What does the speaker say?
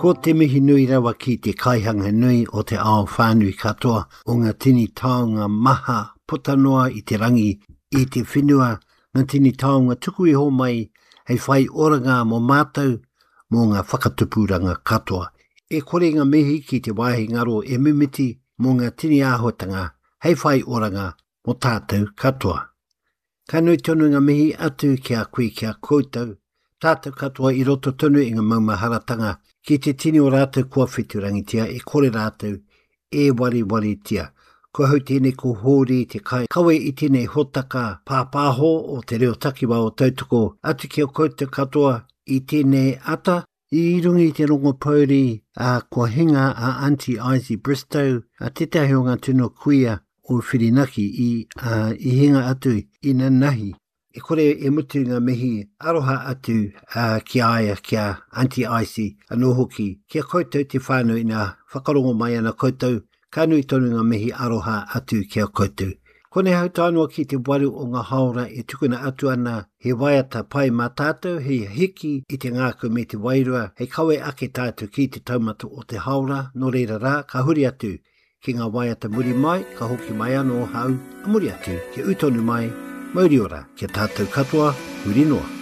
Ko te mihi nui rawa ki te kaihanga nui o te ao whānui katoa o ngā tini taonga maha puta noa i te rangi, i te whenua, ngā tini taonga tuku iho mai hei whai oranga mō mātou, mō ngā whakatupuranga katoa. E kore ngā mihi ki te wāhi ngaro e mimiti mō ngā tini āhuatanga hei whai oranga mō tātou katoa. Ka nui tonu ngā mihi atu ki a koe ki a koutou, tātou katoa i roto tonu i ngā maumaharatanga ki te tini o rātou kua wheturangitia e kore rātou e warewaritia. Ko ahau tēnei ko Hōri te kai kawe i tēnei hōtaka pāpāho o te reo takiwā o Tautoko atu ki a koutou katoa i tēnei ata. I runga i te rongo pouri, ā, kua hinga a Aunty Izzy Bristow, ā, tētahi o ngā tino kuia o Whirinaki i, ā, i hinga atu i nanahi. E kore e mutu ngā mihi aroha atu, ā, ki a ia, ki a Aunty Izzy anō hoki, ki a koutou te whānau ina whakarongo mai ana koutou Ka nui tonu ngā mihi aroha atu ki a koutou. Konei hau tae noa ki te waru o ngā haora e tukuna atu ana he waiata pai mā tātou hei hiki i te ngākau me te wairua hei kawe ake tātou ki te taumata o te haora, nō reira rā ka huri atu ki ngā waiata muri mai ka hoki mai anō hau a muri atu kia ū tonu mai, mauri ora ki a tātou katoa huri noa.